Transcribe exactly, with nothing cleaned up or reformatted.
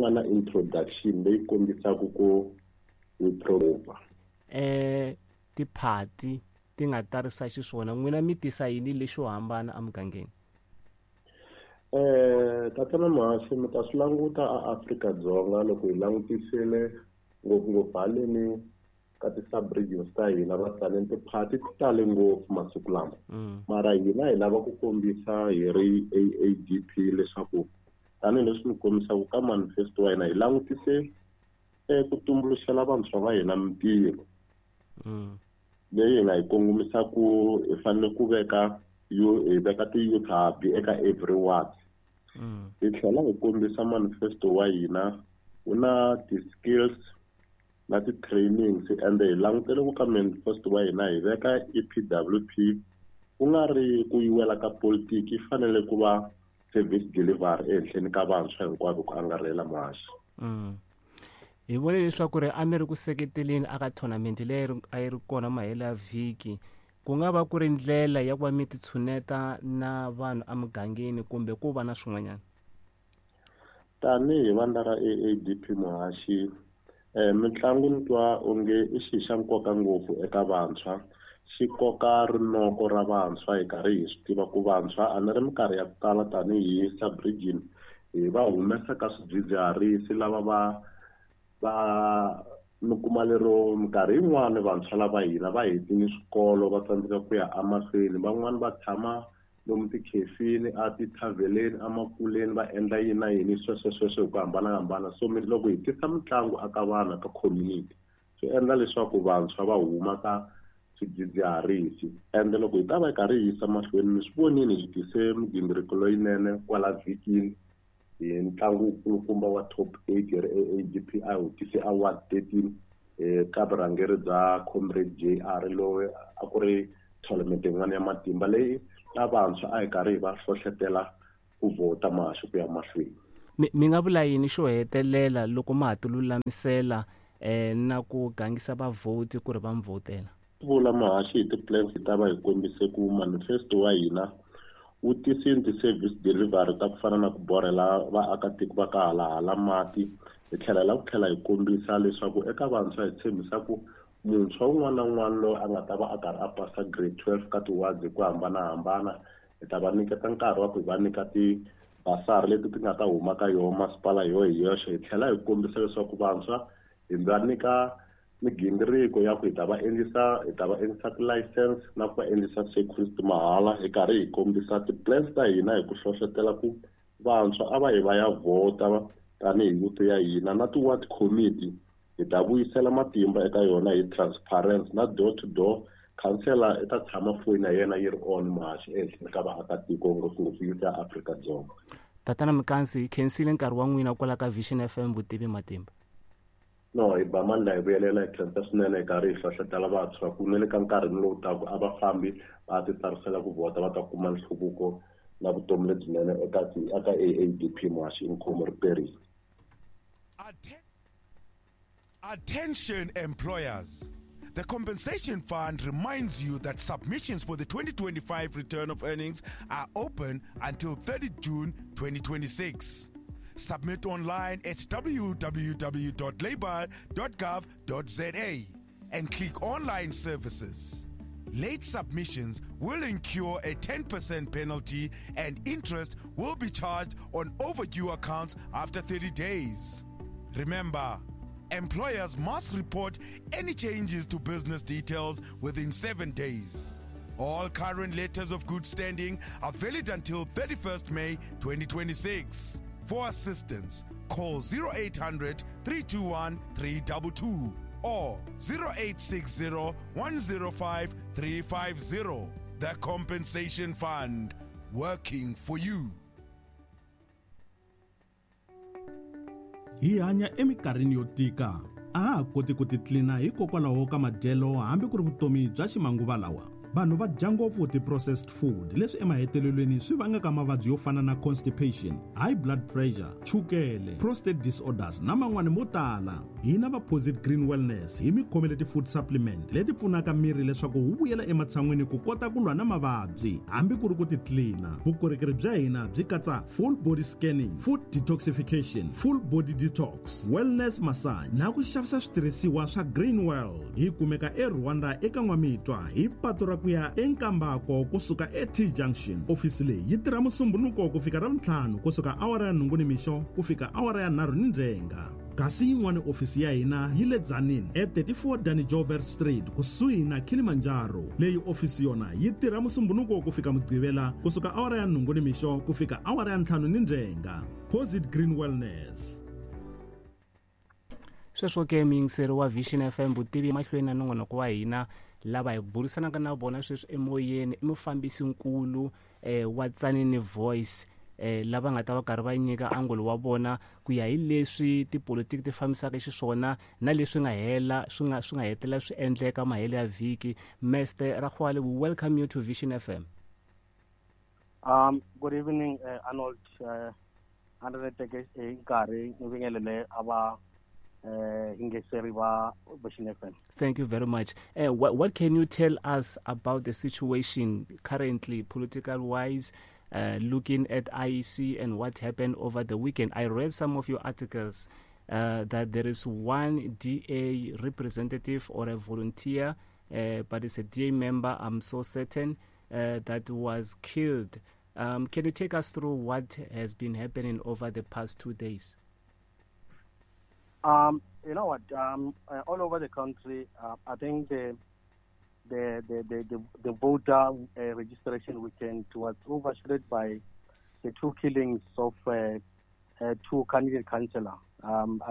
nga na introduction leyi kombisaka ku we prova eh tiphati ti nga tarisa xiswona n'wina mi tisa yini lexo hambana emugangeni? Eh tatana Muhaxi, mi ta swi languta a Afrika-Dzonga loko hi langutisile ngopfungopfu haleni ka ti-sub-regions ta hina va tsaneni tiphati ti tale ngopfu masiku lama. Mara hina hi lava ku kombisa hi ri A A D P leswaku tanihileswi mi kombisaka ka manifesto wa hina hi langutise ku tumbuluxela vantshwa va hina mintirho leyi hi nga yi kongomisa ku hi fanele ku veka hi veka ti-youth hub eka every ward. Hi tlhela hi kombisa manifesto wa hina wu na ti-skills na ti-trainings, ende hi langutele ku ka manifesto wa hina hi veka E P W P ku nga ri ku yiwela ka politiki, yi fanele ku va service delivery ehenhleni ka vantshwa hinkwavo ku angarhela Muhaxi. Hi vone leswaku ri a mi ri ku seketeleni aka tournament leyi a yi ri kona mahelo ya vhiki, ku nga va ku ri ndlela ya ku va mi titshuneta na vanhu emugangeni kumbe ku va na swin'wanyana? Tanihi vandla ra A A D P Muhaxi, eh mitlangu ni twa onge i xilo xa nkoka ngopfu eka vantshwa, xi koka rinoko ra vantshwa hi karhi hi swi tiva ku vantshwa a ni ri minkarhi ya ku tala tanihi sub-region hi va humesa ka swidzidziharisi lava va va mi kuma lero minkarhi yin'wani vantshwa lava hina va hetile swikolo va tsandzeka ku ya emahlweni, van'wani va tshama lomu tikhefini a tithavheleni emakuleni va endla yini na yini sweswo sweswo hi ku hambanahambana. So loko hi tisa mitlangu aka vanhu ka community swi endla leswaku vantshwa va huma ka swidzidziharisi. Ende loko hi ta va hi karhi hi yisa mahlweni mi swi vonile hi tise migingiriko leyinene kwala vhikini hi ntlangu wukulukumba wa top eight hi ri A A D P a hi tise award thirteen ka vurhangeri bya Comrade J R loyi a ku ri tournament yin'wana ya matimba leyi na vantshwa a hi karhi hi va hlohletela ku vhota Muhaxi ku ya mahlweni. Mi mi nga vula yini xo hetelela loko ma ha ti lulamisela eh na ku gangisa vavhoti ku ri va mi vhotela? Vula Muhaxi hi ti-plans hi ta va hi kombise ku manifesto wa hina wu tisini ti-service delivery ta ku fana na ku borhela vaakatiko va ka halahala mati, hi tlhela hi lava ku tlhela hi kombisa leswaku eka vantshwa hi tshembisa ku muntshwa wun'wana na wun'wana loyi a nga ta va a karhi a pasa grade twelve ka ti-wards hi ku hambanahambana hi ta va nyiketa nkarhi wa ku hi va nyika ti-basari leti ti nga ta huma ka yoho masipala yo hi yoxe. Hi tlhela hi kombisa leswaku vantshwa hi va nyika migingiriko ya ku hi ta va endlisa hi ta va endlisa ti-license na ku va endlisa security mahala, hi karhi hi kombisa ti-plans ta hina hi ku hlohletela ku vantshwa a va hi va ya vhota tanihi youth ya hina na ti-ward committee hi ta vuyisela matimba eka yona hi transparency na door to door. Councillor i ta tshama foyini ya yena yi ri on Muhaxi ehenhleni ka vaakatiko ngopfungopfu youth ya Afrika-Dzonga. Tatana Mkansi, hi khensile nkarhi wa n'wina kwala ka Vision F M Vutivi Matimba. No, hi ba mandla hi vuyelela hi khensa swinene hi karhi hi hlohletela vantshwa ku na le ka nkarhi lowu taka a va fambi va ti tsarisela ku vhota va ta kuma nhluvuko na vutomi lebyinene eka eka A A D P Muhaxi inkomu ri perile. Attention employers. The Compensation Fund reminds you that submissions for the twenty twenty-five return of earnings are open until thirtieth June twenty twenty-six. Submit online at w w w dot labour dot gov dot z a and click Online Services. Late submissions will incur a ten percent penalty and interest will be charged on overdue accounts after thirty days. Remember, employers must report any changes to business details within seven days. All current letters of good standing are valid until thirty-first May twenty twenty-six. For assistance, call zero eight hundred, three two one, three two two or zero eight six zero, one zero five, three five zero. The Compensation Fund, working for you. Hi hanya eminkarhini yo tika, a ha ha koti ku titlina hikokwalaho ka madyelo hambi ku ri vutomi bya ximanguva lawa. Vanhu va dya ngopfu ti-processed food leswi emahetelelweni swi vangaka mavabyi yo fana na constipation, high blood pressure, chukele, prostate disorders na man'wani mo tala. Hina va Posit Green Wellness hi mi khomele ti-food supplement leti pfunaka miri leswaku wu vuyela ematshan'wini ku kota ku lwa na mavabyi hambi ku ri ku titlina. Vukorhokeri bya hina byi katsa full body scanning, food detoxification, full body detox, wellness massage na ku xavisa switirhisiwa swa Green World. Hi kumeka eRwanda eka N'wamitwa hi patu ra ku ya eNkambako kusuka e-T Junction. Ofisi leyi yi tirha Musumbhunuko ku fika Ravuntlhanu kusuka awara ya nhungu nimixo ku fika awara ya nharhu ni ndzhenga. Kasi yin'wana ofisi ya hina yi le Tzaneen e thirty-four Danny Joubert Street kusuhi na Kilimanjaro. Leyi ofisi yona yi tirha Musumbhunuko ku fika Mugqivela kusuka awara ya nhungu nimixo ku fika awara ya ntlhanu ni ndzhenga. Posit Green Wellness. Sweswo ke muyingiseri wa Vision F M vutivi mahlweni na nongonoko wa hina lava hi burisanaka na vona sweswi emoyeni i mufambisinkulu eh, wa Tzaneen Voice eh, lava nga ta va karhi va nyika angulo wa vona ku ya hi leswi tipolitiki ti fambisaka xiswona na leswi nga hela swi nga swi nga hetelela swi endleka mahelo ya vhiki. Mister Rakgoale, we welcome you to Vision F M. Um, good evening, uh, Arnold. Uh, nkarhi ni vingelele a va Thank you very much. Uh, what, what can you tell us about the situation currently, political-wise, uh, looking at I E C and what happened over the weekend? I read some of your articles uh, that there is one D A representative or a volunteer, uh, but it's a D A member, I'm so certain, uh, that was killed. Um, can you take us through what has been happening over the past two days? Um, you know what? Um, uh, all over the country, uh, I think the the the the, the, the voter uh, registration weekend was overshadowed by the two killings of uh, uh, two candidate councillors. Um,